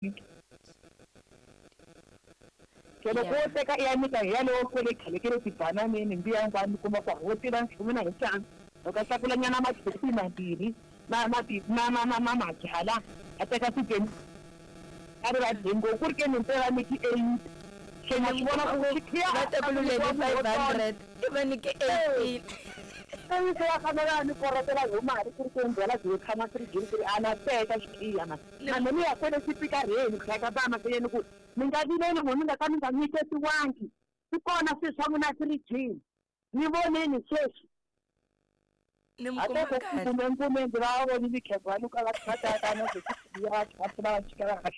Se loko wo teka i ya nyika hi yalowo kwele khale ke le tibananeni mbiya hinkwayo mi kuma ku wo tiva nchumu na hi tlanga loko a tlakula nyana makhekhi mambirhi na na ti na na na na mabyala a teka ti a ri va dye ngopfu ku ri ke ni nte va nyiki 8 se ma swi vona ku xikhiya va tekululeni 500 i va nyike 18. Se va fanele va ni korotela hi mali ku ri ke ni byala byi tshama firijini ku ri a na teka xikhiya mani na me ni ya kwele xipikarheni ku hlaya ka ba mahlweni ku mi nga vileli n'we mi nga ka mi nga nyiketiwangi swi kona swilo swa n'wina firijini ni voneni sweswi. Ni mi kuma kahle. Kumbe mpfumendzi va vonile khegwa loko va kha na ya kha va chika va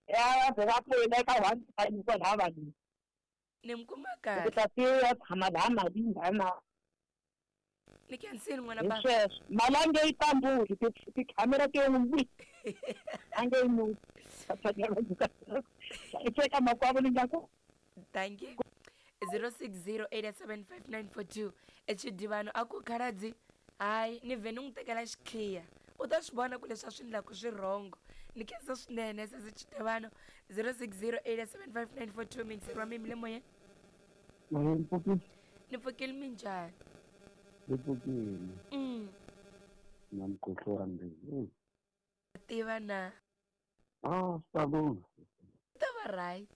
ya va va pfuna eka one time kwalaha vanhu. Ni mi kuma kahle. Ku ta se ya tshama laha mali nghana. Ni khensile n'wana baba. Sweswo mali a nge yi tambuli tikhamera ti n'wi a nge yi nuki. Eka makwavo ni nga ku. Thank you. 0608755942 echidivano a ku khaladzi hayi ni vhe ni n'wi tekela xikhiya u ta swi vona ku leswi a swi endlaku swi rhongo ni khensa swinene sesi Chidivano. 0608755942 mingiseri wa mimi le moyeni. Ni pfukile minjhani? Ni pfukile. Na mukhuhlwani wa mbilu. Tiva na. Ah, swi ta lungha. Ku ta va right.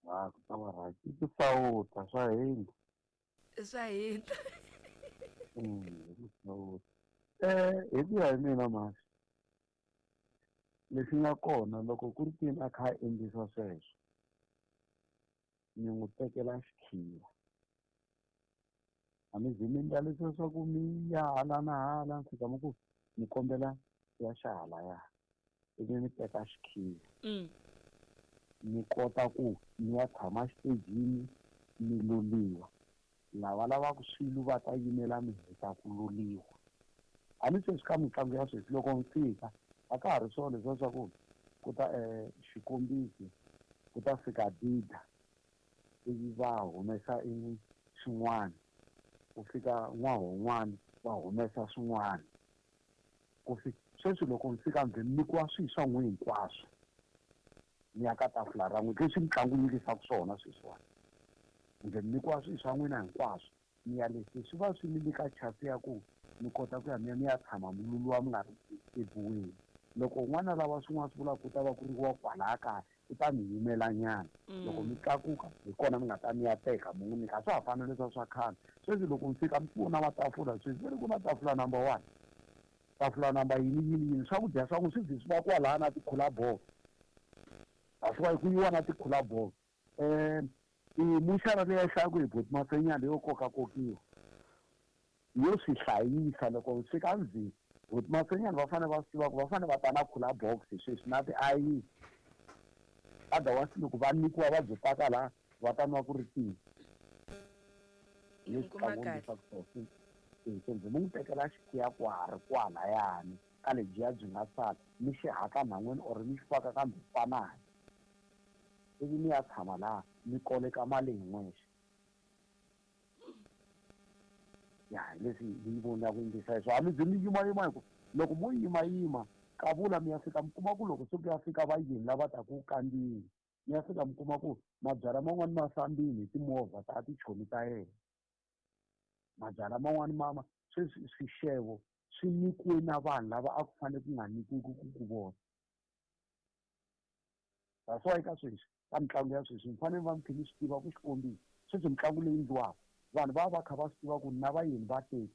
Ah, ku ta va right. I tisawuta swa hina. Swa hina. Tisawuta. Hi ku ya hi mina masi. Lexi nga kona loko ku ri tini a kha a endlisa sweswo. Ni n'wi tekela xikhiya. A mi zi mi endla leswiya swa ku mi ya hala na hala mi fika mi ku mi kombela ya xa halaya. Ivi mi teka xikhiya. Mi kota ku mi ya tshama xitejini mi loliwa. Lava lavaka swilo va ta yimela mi heta ku loliwa. A ni sweswi ka mitlangu ya sweswi loko mi fika a ka ha ri swona leswiya swa ku ku ta xikombiso ku ta fika Dida ivi va humesa i swin'wana ku fika n'wahon'wana va humesa swin'wana ku fika sweswi loko mi fika mi nyikiwa swilo swa n'wina hinkwaswo mi ya ka tafula ra n'wina leswi mitlangu yi endlisaka swona sweswiwani kumbe mi nyikiwa swilo swa n'wina hinkwaswo mi ya leswi swi va swi mi nyika chance ya ku mi kota ku ya mi ya mi ya tshama mi luluwa mi nga ri ebuweni loko un'wana lava swin'wana swi vulaka ku ta va ku ri wa kwalaya kaya ku ta mi yimela nyana loko mi tlakuka hi kona mi nga ta mi ya teka mi n'wi nyika a swa ha fani leswiya swa khale sweswi loko mi fika mi vona matafula sweswi va ri ku na tafula number 1 tafula number yini yini yini swakudya swa n'wi swi zi swi va kwalaya na tikhula bolo a swi va ku yiwa na tikhula bolo muxara leyi hlayaka hi boti Mafenyana leyo kokakokiwa yo swi hlayisa loko mi fika ndzeni boti Mafenyana va fanele va swi tiva ku va fanele va ta na khula box sweswi na tiayini otherwise loko va nyikiwa va byi paka laha va ta nwa ku ri tihi Ni kuma kahle. Se ndzi n'wi tekela xikhiya kwari kwalayani ka lebyiya byi nga sala mi xi haka nhan'wini or mi xi faka ka mbhipanani ivi mi ya tshama laha mi koleka mali hi n'wexe ya hi leswi ni vonaka endlisa hi swona a mi zi mi yimayima hi ku loko mo yimayima kavula mi ya fika mi kuma ku loko se ku ya fika vayeni lava taka ku kandziyeni mi ya fika mi kuma ku mabyalwa man'wani ma fambile hi timovha ta tichomi ta yena mabyalwa man'wani mama sweswi swixevo swi nyikiwe na vanhu lava a ku fanele ku nga nyikiwi ku vona. That's why ka sweswi ka mitlangu ya sweswi mi fanele va mi kha mi swi tiva ku xikombiso sweswi mitlangu leyi endliwaka vanhu va va kha va swi tiva ku na vayeni va 30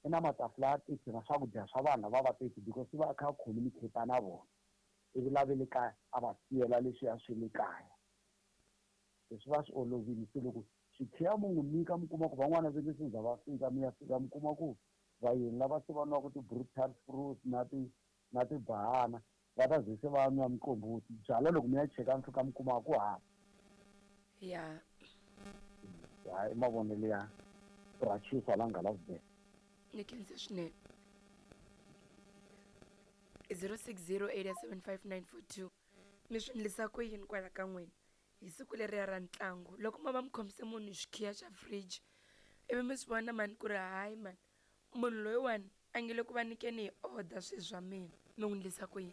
i na matafula ya 30 na swakudya swa vanhu lava va 30 because va kha communicate na vona ivi lava le kaya a va siyela leswiya swi le kaya leswi va swi olovile se loko xikhiya mu n'wi nyika mi kuma ku van'wana va nge se za va fika mi ya fika mi kuma ku vayeni lava se va nwaka ti-brutal fruit na ti na tibahana va ta ze se va nwa miqombothi byalwa loko mi ya cheka mi fika mi kuma ku hava ya hayi mavonelo ya rachisa la nga lavubela ni khense swinene. 0608755942 mi swi endlisa ku yini kwala ka n'wina hi siku leriya ra ntlangu loko ma va mi khomise munhu xikhiya xa fridge ivi mi swi vona mani ku ri hayi mani munhu loyiwani a nge le ku va nyikeni hi order swilo swa mina. Mi n'wi endlisa ku yini?